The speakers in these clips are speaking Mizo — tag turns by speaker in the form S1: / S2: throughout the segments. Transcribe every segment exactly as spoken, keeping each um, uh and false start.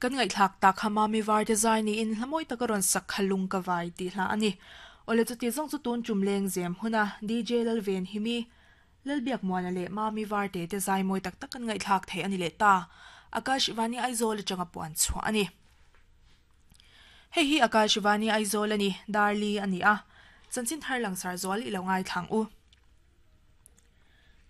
S1: Kan ngaihthlak tak kha Mami Varte zai niin hla mawi taka rawn sak kha lung ka vai tih hla a ni. Awle chuti zawng chu tun tum leng zem huna D J Lalven Himi, Lalbiak Muana leh Mami Varte te zai mawi tak tak kan ngaihthlak thei a ni leh ta. Akashvani Aizawl atanga puan chhuah a ni. Hei hi Akashvani Aizawl a ni, Darli a ni a. Chanchin thar langsar zual i lo ngaithlang u.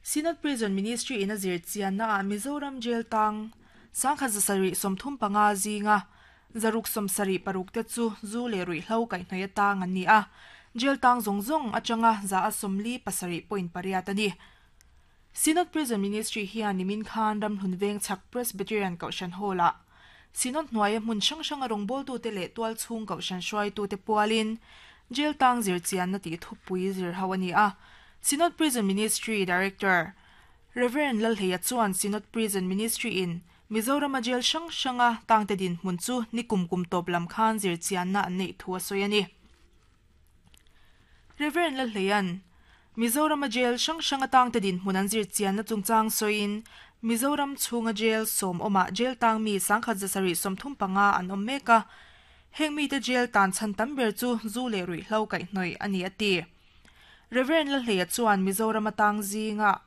S1: Synod Prison Ministry in a zir chianna ah Mizoram Jail tang sangkhat zasarih sawmthum panga zinga zaruk sawmsarih paruk te chu zu leh ruihhlo kaihhnawih atang an ni a. Jail tang zawng zawng atanga za a sawmli pasarih point pariat a ni. Synod Prison Ministry hian nimin khan Ramhlun Veng chhak Presbyterian Kohhran Hall ah Synod hnuaia hmun hrang hranga rawngbawltute leh tualchhung kohhran hruaitute pualin Jail tang zir chianna tih thupui zir ho a ni a. Synod Prison Ministry Director Reverend Lalhleia chuan Synod Prison Ministry in Mizorama jail hrang hranga tangte dinhmun chu nikum kum tawp lam khan zir chianna an neih thu a sawi a ni. Reverend Lalhleia'n Mizorama jail hrang hranga tangte dinhmun an zir chianna chungchang sawiin Mizoram chhunga jail sawm awmah jail tang mi sangkhat zasarih sawmthum panga an awm mek a. Heng mite jail tan chhan tam ber chu zu leh ruihhlo kaihhnawih a ni a ti. Reverend Lalhleia chuan Mizorama tang zinga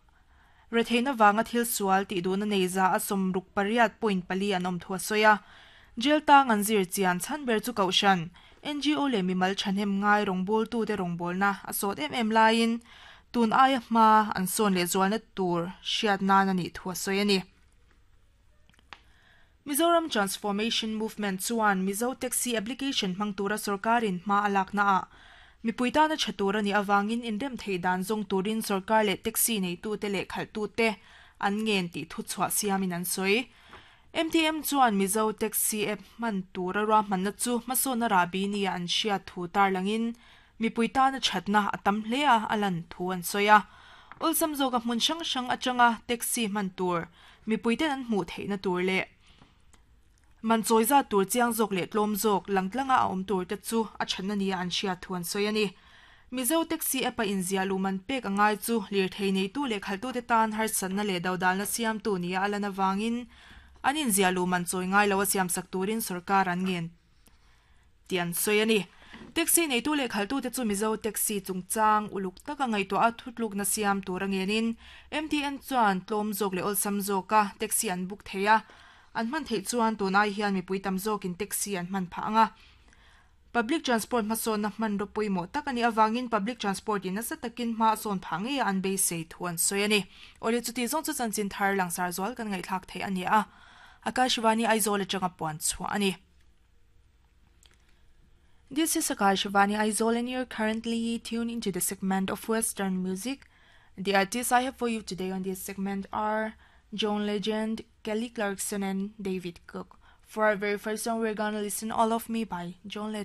S1: retheihna wanga thil sual tih duhna nei za a sawmruk pariat point pali an awm thu a sawi a. Jail tang an zir chian chhan ber chu kohhran N G O leh mimal thahnem ngai rawngbawltute rawngbawlna a sawt em em laiin tun aia hma an sawn leh zualna tur hriat nan a nih thu a sawi a ni. Mizoram Transformation Movement chuan Mizo Taxi application hmang tura sorkarin hma a lakna ah mipui tana tha tur ani awangin inrem thei dan zawng turin sorkar leh taxi neitute leh khalhtute an ngen tih thu chhuah siamin an sawi. M T M chuan Mizo Taxi app hman tura ruahmanna chu hmasawnna rahbi ni an hriat thu tarlangin mipui tana thatna a tam hle a alan thu an sawi a. Awlsam zawka hmun hrang hrang atanga taxi hman tur mipuiten an hmuh theihna tur leh man chawi zat tur chiang zawk leh tlawm zawk langtlanga a awm tur te chu a thatna ni an hriat thu an sawi a ni. Mizo Taxi app a inziah luman pek angai chu lirthei neitu leh khalhtute tan harsatna leh dodalna siamtu ni a alan awangin an inziah luman chawi ngai lo a siamsak turin sorkar an ngen ti an sawi a ni. Taxi neitu leh khalhtute chu Mizo Taxi chungchang uluk taka ngaihtuah a thutlukna siam tur a ngenin M T N chuan tlawm zawk leh awlsam zawka taxi an book thei a. An hman theih chuan tun ai hian mipui tam zawkin taxi an hman phah anga. Public transport hmasawnna hman ro pawimawh tak ani awangin public transport in nasa takin hma a sawn phah ngei a an beisei thu an sawi a ni. Awle chuti zawng chu chanchin thar langsar zual kan ngaihthlak thei a ni a. Akashvani Aizawl atanga puan chhuah a ni. This is Akashvani Aizawl and you're currently tuned into the segment of Western music. The artists I have for you today on this segment are John Legend, Kelly Clarkson and David Cook. For our very first song, we're gonna listen "All of Me" by John Legend.